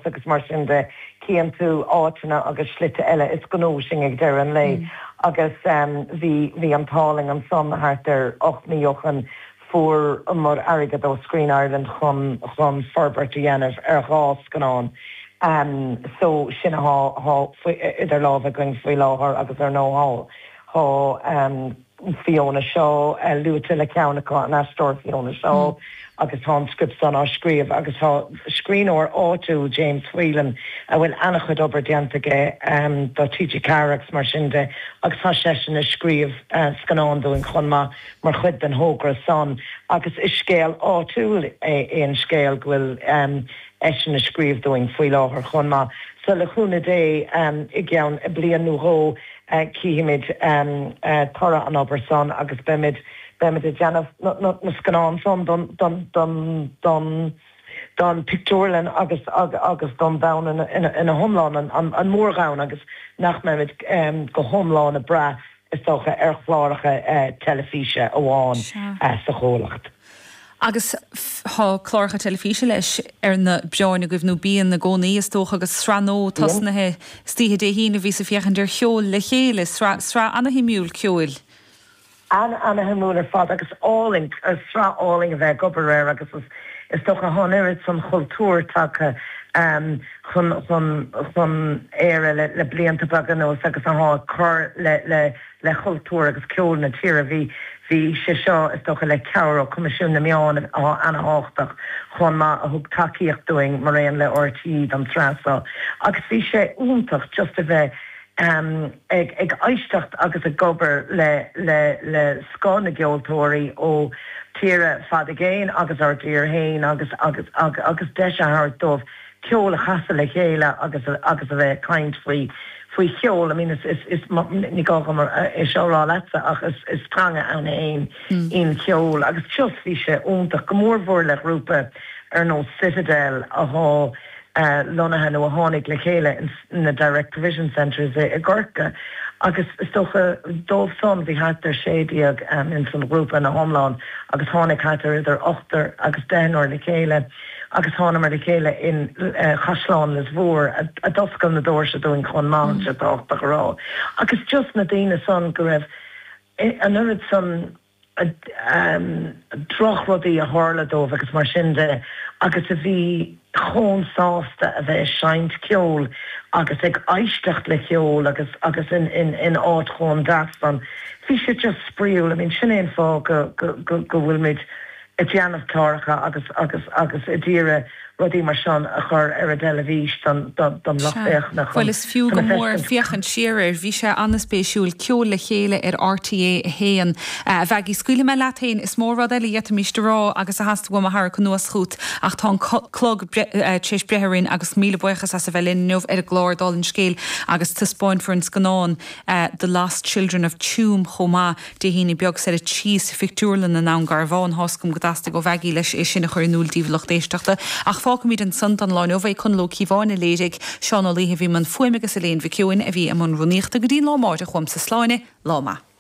fás agus mar sin de, cíonn tú áiteanna agus slite eile, is gnó sinn ag deireadh an lae agus bhí, bhí an t-ádh linn ansan thart ar 8 mí ó shoin fuaireamar airgead ó Screen Ireland chun, chun forbairt a dhéanamh ar dhá scannán so sin athá, athá idir lámha againn faoi láthair agus ar ndóigh thá, thá. Fiona Shaw luaite le ceann acu, an aisteoir Fiona Shaw, agus tá an script san á scríobh agus tá scríbhneoir áitiúil, James Whelan, a bhfuil an-chuid obair déanta aige do TG4 agus mar sin de agus tá seisean ag scríobh scannán dúinn chomh maith mar chuid den thogra san agus is scéal áitiúil é an scéal go bhfuil eisean ag scríobh dúinn faoi láthair chomh maith. So le cúnamh Dé i gceann bliain nó dhó Cífimid toradh an obair san agus beimid, beimid ag déanamh na scannán san don, don, don, don, don pictiúrlann agus, agus don domhan ina hiomlán, an, an mórdhomhan agus nach mbeimid go hiomlán ag brath, is dócha, ar chláracha teilifíse amháin sa chomhlacht. Agus tá cláracha teilifíse leis ar na bioráin agaibh, nó bíonn i gcónaí, is dócha, agus sraith nua tosnaithe istoíche Dé hAoine a bhíos ag féachaint ar Cheol le Chéile, sraith, sraith ana-shuimiúil ceoil. Ana-shuimiúil ar fad agus álainn, sraith álainn a bheith ag obair air agus is, is dócha thá an oiread san chultúr tagtha chun, chun, chun Éire le, le blianta beaga anuas agus athá ag cur le, le, le cultúr agus ceol na tíre. Bhí bhí sé seo, is dócha, le cabhair ó Coimisiún na Meán, atá ana-thábhachtach chomh maith, a thug tacaíocht dúinn, maraon le RTÉ, don tsraith seo. Agus bhí sé iontach just a bheith ag ag éisteacht agus ag obair le le le scoth na gceoltóirí ó tíortha fada i gcéin agus ár dtír féin agus agus agus deis a thabhairt dóibh ceol a chasadh le chéile agus agus a bheith ag caint faoi faoi cheol. I mean is is is ní gá dom é seo a rá leatsa ach is is teanga ann féin í an cheol agus just bhí sé iontach, go mór mhór le ghrúpa ar nós Citadel athá lonnaithe nó a tháinig le chéile in na Direct Provision Centres i gCorcaigh agus is dócha dóibh san bhí thart ar 16 ins an ghrúpa ina hiomlán agus tháinig thart ar idir ochtar agus deichniúr le chéile. agus thánamar le chéile in Caisleán Lios Mhór a d'oscail na doirse dúinn chomh maith, tá sé tábhachtach a rá. Agus just na daoine san go raibh an oiread san drochrudaí a tharla dóibh agus mar sin de agus a bhí chomh sásta a bheith ag seinnt ceoil agus ag éisteacht le ceol agus agus in in áit chomh deas san. Bhí sé just spraíúil. I mean sin é an fáth go go go go bhfuilimid ag déanamh cláracha agus agus agus ag iarraidh rudaí mar sin a chur ar an dteilifís don don lucht Sea. féachana Bhuel chun is fiú chun go a mór feiscint. féachaint siar air. Bhí sé an-spéisiúil. Ceol le Chéile ar RTÉ 1. A Mhaggie, scaoilfidh mé leat féin. Is mó rud eile a d'fhéadfaimíst a rá agus a theastaigh uaim a tharrac anuas chút ach tá an clog tar éis breith orainn agus míle buíochas as a bheith linn inniu ar an gclár Dála an Scéil agus taispeáinfear an scannán The Lost Children of Tuam chomh maith. Dé hAoine beag soir 3 sa phictiúrlann i nDún Garbhán. Tá's agam go dteastaigh ó Mhaggie leis é sin a chur in iúl daoibh a lucht éisteachta. Ach fágfaimid ansan don lá inniu é. Conall Ó Cíobháin a léirigh, Seán Ó Laoithe a bhí i mbun fuaime agus Elaine Mhic Eoin a bhí i mbun rúnaíochta. Go dtí an lá amáireach uaimse sláine. Lá maith.